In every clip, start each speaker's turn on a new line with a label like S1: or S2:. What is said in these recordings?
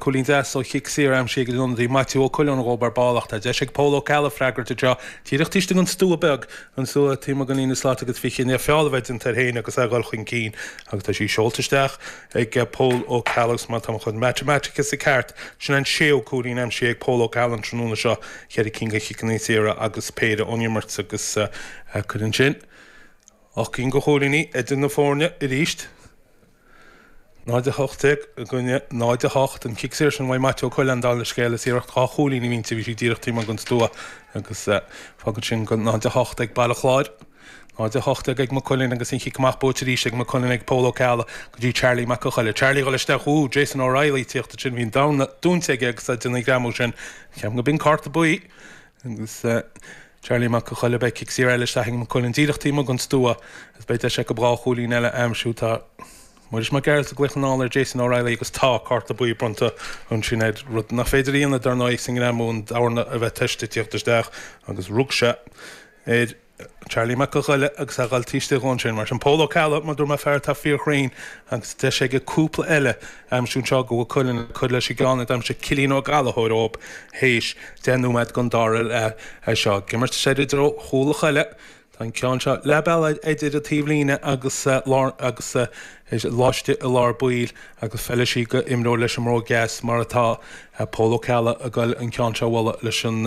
S1: Cúilín deas ó chic saor aimsithe ag an ionadaí Maitiú Ó Coileáin dhóibh ar ball ach tá deis ag Pól Ó Ceallaigh freagairt anseo díreach taobh istigh den stua beag, an stua taobh amuigh den líne slat agus 20 i ndiaidh feall a bheith déanta air féin agus é ag dul chun cinn agus tá sí seolta isteach ag Pól Ó Ceallaigh agus má tá mo chuid matamaitice ceart, sin an séú cúilín aimsithe ag Pól Ó Ceallaigh an tráthnóna seo, cheithre cinn de chiceanna saora agus péire ón imirt agus cuireann sin 8 gcinn de chúilíní idir na foirne arís. 0-18 i gcoinne 0-8. An cic saor sin uaidh Maitiú Ó Coileáin, dála an scéil, is iarracht 2 chúilín a bhí inti, bhí sí díreach taobh amuigh den stua agus fágann sin go 0-8 ag Baile Chláir. 0-18 ag Maigh Cuilinn agus an chic amach buaite arís ag Maigh Cuilinn ag Pól Ó Ceallaigh go dtí Charlie Mac an Choille. Charlie ag dul isteach, ooh, Jason O'Reilly ag tíocht ansin, bhí an dorn dúnta aige agus é ag déanamh an ghreamú sin. Ceapaim go b'in cárta buí agus Charlie Mac an Choille, beidh cic saor eile isteach ag Maigh Cuilinn díreach taobh amuigh den stua agus beidh deis acu 2 chúilín eile a aimsiú. Tá Muiris Mac Gearailt ag glaoch anall ar Jason O'Reilly agus tá cárta buí bronnta ansin air, rud nach féidir a dhéanamh dar ndóigh sa ngreamú an dorn a bheith toisithe ag tíocht isteach agus rug sé ar Charlie Mac an Choille agus é ag dul taobh istigh dhó ansin. Mar sin Pól Ó Ceallaigh, mar dúirt mé, fear atá fíorchruinn agus deis aige cúpla eile a aimsiú anseo do Mhaigh Cuilinn le cur leis an gceann a d'aimsigh Cillian Ó Gallchóir dóibh théis 10 nóiméad den dara leath seo. Ag imirt soir i dtreo chúl an Choille. Tá an ceann seo leath bealaigh idir an taobhlíne agus lár agus laistigh i lár baill agus feilfidh sí go imreoir leis an mbróg dheas mar atá Pól Ó Ceallaigh ag goil an ceann seo a bhualadh leis an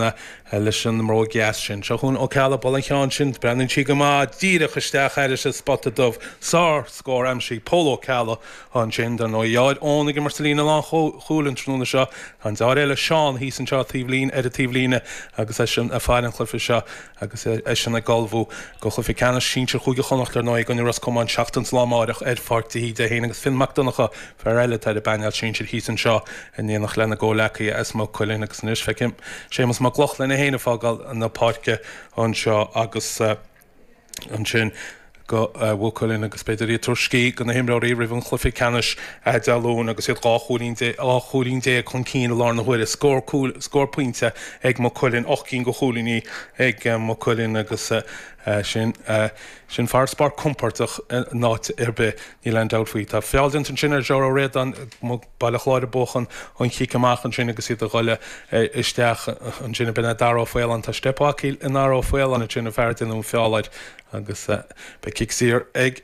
S1: leis an mbróg dheas sin. Seo chugainn Ó Ceallaigh ag bualadh an cheann sin, breathnaíonn sí go maith díreach isteach thairis an spota dubh. Sár scór aimsithe ag Pól Ó Ceallaigh ansin. Dar ndóigh a dheartháir Eoin ag imirt sa líne lánchúil an tráthnóna seo. Tá an deartháir eile Seán thíos anseo taobhlíne ar an taobhlíne agus eisean ag faire an chluiche seo. Agus eisean ag ullmhú do chluiche ceannais sinsir Chúige Chonnacht ar ndóigh i gcoinne Ros Comáin seachtain is lá amáireach ar Pháirc de hÍde féin agus Finn Mac Donncha, fear eile atá ar an bpainéal sinsir thíos anseo in éineacht lena gcomhleacaithe as Maigh Cuilinn agus anois feicim Séamus Mac Lochlainn é féin ag fágáil na páirce anseo agus ansin go Mhaigh Cuilinn agus b'fhéidir iad ag tabhairt scíth do na himreoirí roimh an chluiche ceannais Dé Luain agus iad 12 chúilín chúilín chun cinn i láthair na huaire. Scór cúil, scór pointe ag Maigh Cuilinn, 8 gcinn de chúilíní ag Maigh Cuilinn agus sin sin farasbarr compordach in áit ar bith, níl aon dabht faoi. Tá feall déanta ansin ar Ger Ó Ríordáin, Baile Chláir ag buachan an chic amach ansin agus iad ag dul isteach ansin ab in é Dara Ó Faoláin. Tá steip acu i nDara Ó Faoláin ansin, an fear a déanadh an feall air agus beidh cic saor ag.